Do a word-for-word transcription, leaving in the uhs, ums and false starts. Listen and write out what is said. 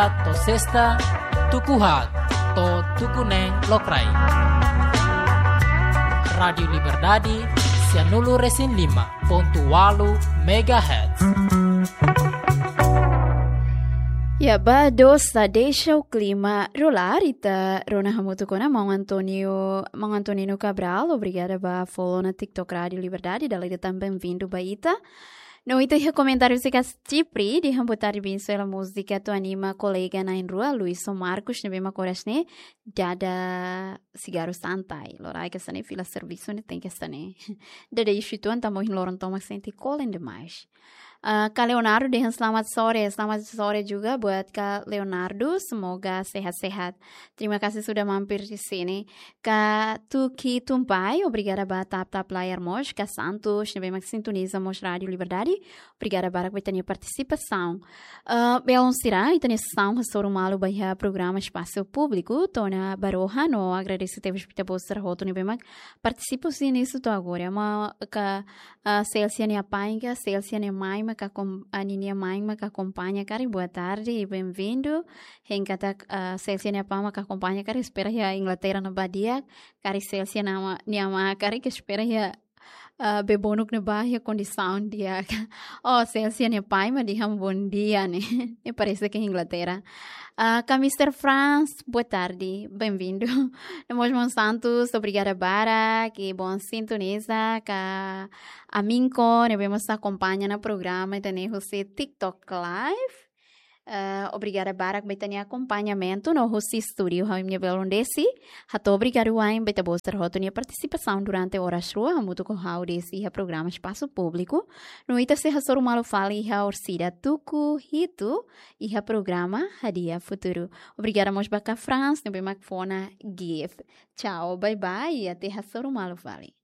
To'o sesta, tuku haat to'o tuku neen lokraik. Rádiu Liberdade, sianulu resin lima pontu ualu megahertz. Ya, ba dosa, deixa o klima rolar, ita rona hamutuk ona maun António, maun Antonino Cabral, obrigada ba follow ona TikTok Rádiu Liberdade, dala ida tan bem-vindo ba ita. No ita iha komentáriu sira kasih Chipre, dehan boa tarde, bensaun, múzika atu anima kolega na'in-rua, Luis ho Marcos, ne'ebé mak oras ne'e dada sigaru santai. Loraik hanesan ne'e fila servisu ne'e tenke hanesan ne'e. Dada isu ituan tanba ohin loron tomak sente kolen demais. Ah, Kak Leonardo dehan selamat sore, selamat sore juga buat Kak Leonardo, semoga sehat-sehat. Terima kasih sudah mampir di sini. Kak Tuki Tumpai, obrigada ba tap-tap layar mós. Kak Santos, ne'ebé mak sintoniza mós Rádiu Liberdade, obrigada barak ba ita-nia partisipasaun. Ah, belun sira, ita-nia sessão hasoru malu ba iha programa Espasu Públiku, to'o ona ba rohan no agradese tebes ba ita-boot sira hotu ne'ebé mak partisipa husi inísiu to'o agora. Maun Kak, ah, Celsia nia apá, Kak Celsia nia amá mak akom-, ah, ninia amá mak akompaña karik, boa tarde e bem-vindo. Hein katak, ah, Celsia nia apá mak akompaña karik, espera iha Inglaterra ne'ebá di'ak, karik Celsia nia amá, nia amá karik, espera iha, ah, bebonuk ne'ebá iha kondisaun di'ak. Oh, Celsia nia apá mak dehan bom dia ne'e. Ne'e parese ke Inglaterra. Ah, Kak Mister Franz, boa tarde, bem-vindo. No mós maun Santos, obrigada barak, e bom sintoniza, Kak Aminko, ne'ebé mós akompaña ona programa ita-nia husi TikTok Live. Eh, obrigada barak ba ita-nia akompañamentu no husi estúdiu, ha'u-nia belun Desi. Hato'o obrigadu wa'in ba ita-boot sira hotu nia partisipasaun durante oras rua, hamutuk ho ha'u Desi iha programa Espasu Públiku. No ita sei hasoru malu fali iha orsida tuku hitu iha programa Hadi'a Futuru. Obrigada mós ba Kak Franz, ne'ebé mak fó ona gift. Tchau, bye bye, até hasoru malu fali.